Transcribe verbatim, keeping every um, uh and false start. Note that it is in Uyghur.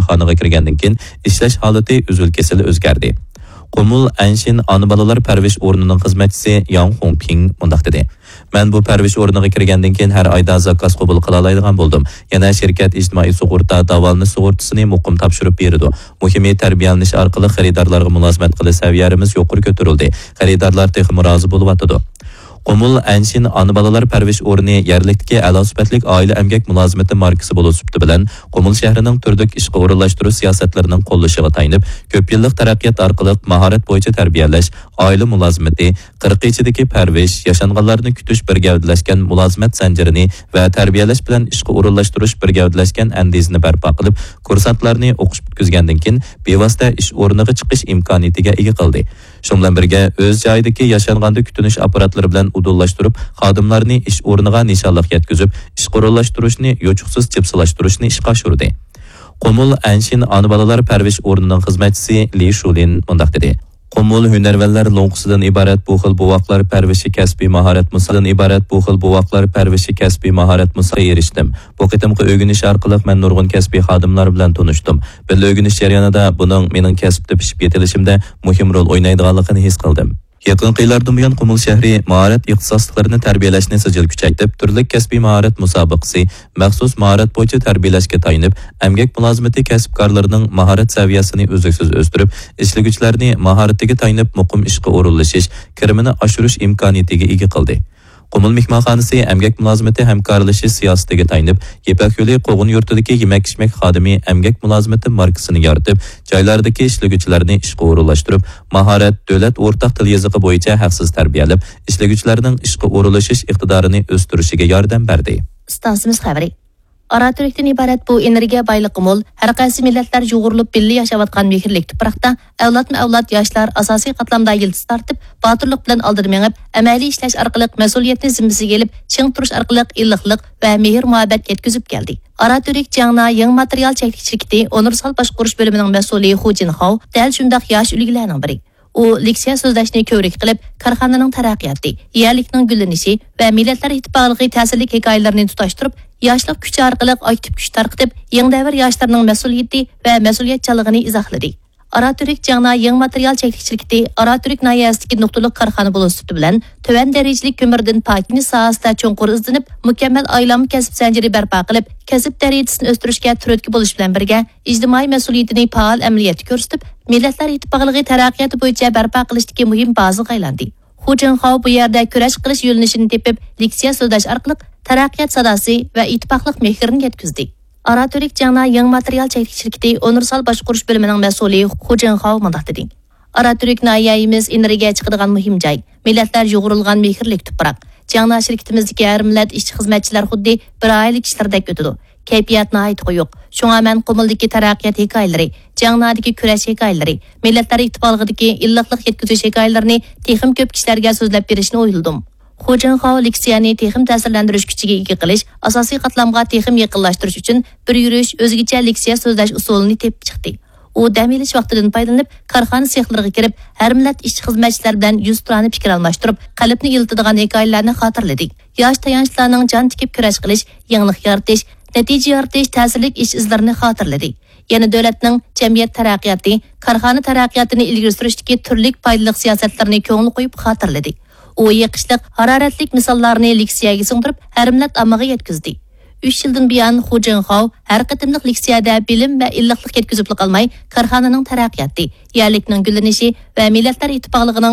خانىغا كىرگەندىن كېيىن ئىشلەش ھالىتى ئۈزۈل-كېسىل ئۆزگەردى. قۇمۇل ئەنشىن ئانا بالىلار پەرۋىش ئورنىنىڭ خىزمەتچىسى ياڭ خۇڭپىڭ مۇنداق دېدى: مەن بۇ پەرۋىش ئورنىغا كىرگەندىن كېيىن ھەر ئايدا زاكاز قوبۇل قىلالايدىغان بولدۇم. يەنە شىركەت ئىجتىمائىي سۇغۇرتا داۋالىنىش سۇغۇرتىسىنى مۇقىم تاپشۇرۇپ بېرىدۇ. مۇھىمى، تەربىيەلىنىش ئارقىلىق خېرىدارلارغا مۇلازىمەت قىلىش سەۋىيەمىز يۇقىرى كۆتۈرۈلدى. خېرىدارلار تېخىمۇ رازى بولۇۋاتىدۇ. قۇمۇل ئەنشىن ئانا بالىلار پەرۋىش ئورنى يەرلىكتىكى ئەلا سۈپەتلىك ئائىلە ئەمگەك مۇلازىمىتى ماركىسى بولۇش سۈپىتى بىلەن قۇمۇل شەھىرىنىڭ تۈرلۈك ئىشقا ئورۇنلاشتۇرۇش سىياسەتلىرىنىڭ قوللىشىغا تايىنىپ، كۆپ يىللىق تەرەققىيات ئارقىلىق ماھارەت بويىچە تەربىيەلەش، ئائىلە مۇلازىمىتى، قىرىق كېچىدىكى پەرۋىش، ياشانغانلارنى كۈتۈش بىر گەۋدىلەشكەن مۇلازىمەت زەنجىرىنى ۋە تەربىيەلەش بىلەن ئىشقا ئورۇنلاشتۇرۇش بىر گەۋدىلەشكەن ئەندىزىنى بەرپا قىلىپ، كۇرسانتلارنى ئوقۇش پۈتكۈزگەندىن كېيىن بىۋاسىتە ئىش ئورنىغا چىقىش ئىمكانىيىتىگە ئىگە قىلدى. شۇنىڭ بىلەن بىرگە، ئۆز جايىدىكى ياشانغاندا كۈتۈنۈش ئاپپاراتلىرى بىلەن ئۇدۇللاشتۇرۇپ، خادىملارنى ئىش ئورنىغا نىشانلىق يەتكۈزۈپ، ئىشقا ئورۇنلاشتۇرۇشنى يوچۇقسىز جىپسىلاشتۇرۇشنى ئىشقا ئاشۇردى. قۇمۇل ئەنشىن ئانا بالىلار پەرۋىش ئورنىنىڭ خىزمەتچىسى لى شۇلىن مۇنداق دېدى: قۇمۇل ھۈنەرۋەنلەر لوڭقىسىدىن ئىبارەت بۇ خىل بوۋاقلار پەرۋىشى كەسپىي ماھارەت مۇسابىقىسىدىن ئىبارەت بۇ خىل بوۋاقلار پەرۋىشى كەسپىي ماھارەت مۇسابىقىسىگە ئېرىشتىم. بۇ قېتىمقى ئۆگىنىش ئارقىلىق مەن نۇرغۇن كەسپىي خادىملار بىلەن تونۇشتۇم. بىللە ئۆگىنىش جەريانىدا بۇنىڭ مېنىڭ كەسىپتە پىشىپ يېتىلىشىمدە مۇھىم رول ئوينايدىغانلىقىنى ھېس قىلدىم. يېقىنقى يىللاردىن بۇيان، قۇمۇل شەھىرى ماھارەت ئىختىساسلىقلىرىنى سىجىل كۈچەيتىپ، تۈرلۈك كەسپىي ماھارەت مۇسابىقىسى، مەخسۇس ماھارەت بويىچە تەربىيەلەشكە تايىنىپ، ئەمگەك مۇلازىمىتى كەسىپكارلىرىنىڭ ماھارەت سەۋىيەسىنى ئۈزلۈكسىز ئۆستۈرۈپ، ئىشلىگۈچىلەرنى ماھارىتىگە تايىنىپ، مۇقىم ئىشقا ئورۇنلىشىش، كىرىمىنى ئاشۇرۇش ئىمكانىيىتىگە ئىگە قىلدى. قۇمۇل مېھمانخانىسى ئەمگەك مۇلازىمىتى ھەمكارلىشىش سىياسىتىگە تايىنىپ، يىپەك يولى قوغۇن يۇرتىدىكى يېمەك-ئىچمەك خادىمى ئەمگەك مۇلازىمىتى ماركىسىنى يارىتىپ، جايلاردىكى ئىشلىگۈچىلەرنى ئىشقا ئورۇنلاشتۇرۇپ، ماھارەت، دۆلەت ئورتاق تىل يېزىقى بويىچە ھەقسىز تەربىيەلەپ، ئىشلىگۈچىلەرنىڭ ئىشقا ئورۇنلىشىش ئىقتىدارىنى ئۆستۈرۈشىگە ياردەم بەردى. ئىستانسىمىز خەۋىرى. ئاراتۈركتىن ئىبارەت بۇ ئېنېرگىيە بايلىقى مول، ھەر قايسى مىللەتلەر يۇغۇرۇلۇپ بىللە ياشاۋاتقان مېھىرلىك تۇپراقتا ئەۋلادمۇ ئەۋلاد ياشلار ئاساسىي قاتلامدا يىلتىز تارتىپ، باتۇرلۇق بىلەن ئالدىدا مېڭىپ، ئەمەلىي ئىشلەش ئارقىلىق مەسئۇلىيەتنى زىممىسىگە ئېلىپ، چىڭ تۇرۇش ئارقىلىق ئىللىقلىق ۋە مېھىر-مۇھەببەت يەتكۈزۈپ كەلدى. ئاراتۈرك جياڭنا يېڭى ماتېرىيال چەكلىك شىركىتى ئۇنىۋېرسال باشقۇرۇش بۆلۈمىنىڭ مەسئۇلى خۇ جىنخاۋ دەل شۇنداق ياش ئۈلگىلەرنىڭ بىرى. ئۇ لېكسىيە سۆزلەشنى كۆۋرۈك قىلىپ، كارخانىنىڭ تەرەققىياتى، يەرلىكنىڭ گۈللىنىشى ۋە مىللەتلەر ئىتتىپاقلىقى تەسىرلىك ھېكايىلىرىنى تۇتاشتۇرۇپ، ياشلىق كۈچى ئارقىلىق ئاكتىپ كۈچ تارقىتىپ، يېڭى دەۋر ياشلىرىنىڭ مەسئۇلىيىتى ۋە مەسئۇلىيەتچانلىقىنى ئىزاھلىدى. ئاراتۈرك جياڭنا يېڭى ماتېرىيال چەكلىك شىركىتى ئاراتۈرك ناھىيەسىدىكى نۇقتىلىق كارخانا بولۇش سۈپىتى بىلەن تۆۋەن دەرىجىلىك كۆمۈردىن پاكلىنىش ساھەسىدە چوڭقۇر ئىزدىنىپ، مۇكەممەل ئايلانما كەسىپ زەنجىرى بەرپا قىلىپ، كەسىپ دەرىجىسىنى ئۆستۈرۈشكە تۈرتكە بولۇش بىلەن بىرگە، ئىجتىمائىي مەسئۇلىيىتىنى پائال ئەمەلىيەتتە كۆرسىتىپ، مىللەتلەر ئىتتىپاقلىقى تەرەققىياتى بويىچە بەرپا قىلىشتىكى مۇھىم بازىغا ئايلاندى. خۇ جىنخاۋ بۇ يەردە كۈرەش قىلىش يۆنىلىشىنى تېپىپ، لېكسىيە سۆزلەش ئارقىلىق تەرەققىيات ساداسى ۋە ئىتتىپاقلىق مېھرىنى يەتكۈزدى. ئاراتۈرك جياڭنا يېڭى ماتېرىيال چەكلىك شىركىتى ئۇنىۋېرسال باشقۇرۇش بۆلۈمىنىڭ مەسئۇلى خۇ جىنخاۋ مۇنداق دېدى: ئاراتۈرك ناھىيەمىز ئېنېرگىيە چىقىدىغان مۇھىم جاي، مىللەتلەر يۇغۇرۇلغان مېھىرلىك تۇپراق. جياڭنا شىركىتىمىزدىكى ھەر مىللەت ئىشچى-خىزمەتچىلەر خۇددى بىر ئائىلە كىشىلىرىدەك ئۆتىدۇ. كەيپىيات ناھايىتى قويۇق. شۇڭا مەن قۇمۇلدىكى تەرەققىيات ھېكايىلىرى، جياڭنادىكى كۈرەش ھېكايىلىرى، مىللەتلەر ئىتتىپاقلىقىدىكى ئىللىقلىق يەتكۈزۈش ھېكايىلىرىنى تېخىمۇ كۆپ كىشىلەرگە سۆزلەپ بېرىشنى ئويلىدىم. خۇ جىنخاۋ لېكسىيەنى تېخىمۇ تەسىرلەندۈرۈش كۈچىگە ئىگە قىلىش، ئاساسىي قاتلامغا تېخىمۇ يېقىنلاشتۇرۇش ئۈچۈن بىر يۈرۈش ئۆزگىچە لېكسىيە سۆزلەش ئۇسۇلىنى تېپىپ چىقتى. ئۇ دەم ئېلىش ۋاقتىدىن پايدىلىنىپ، كارخانا سېخلىرىغا كىرىپ، ھەر مىللەت ئىشچى-خىزمەتچىلەر بىلەن يۈزتۇرانە پىكىر ئالماشتۇرۇپ، قەلبنى ئىللىتىدىغان ھېكايىلەرنى خاتىرىلىدى. ياش تايانچلارنىڭ جان تىكىپ كۈرەش قىلىش، يېڭىلىق يارىتىش، نەتىجە يارىتىش تەسىرلىك ئىش ئىزلىرىنى خاتىرىلىدى. يەنە دۆلەتنىڭ جەمئىيەت تەرەققىياتى، كارخانا تەرەققىياتىنى ئىلگىرى سۈرۈشتىكى تۈرلۈك پايدىلىق سىياسەتلىرىنى كۆڭۈل قويۇپ خاتىرىلىدى. ئۇ يېقىشلىق، ھارارەتلىك مىساللارنى لېكسىيەگە سىڭدۈرۈپ، ھەر مىللەت ئاممىغا يەتكۈزدى. ئۈچ يىلدىن بۇيان خۇ جىنخاۋ ھەر قېتىملىق لېكسىيەدە بىلىم ۋە ئىللىقلىق يەتكۈزۈپلا قالماي، كارخانىنىڭ تەرەققىياتى، يەرلىكنىڭ گۈللىنىشى ۋە مىللەتلەر ئىتتىپاقلىقىنىڭ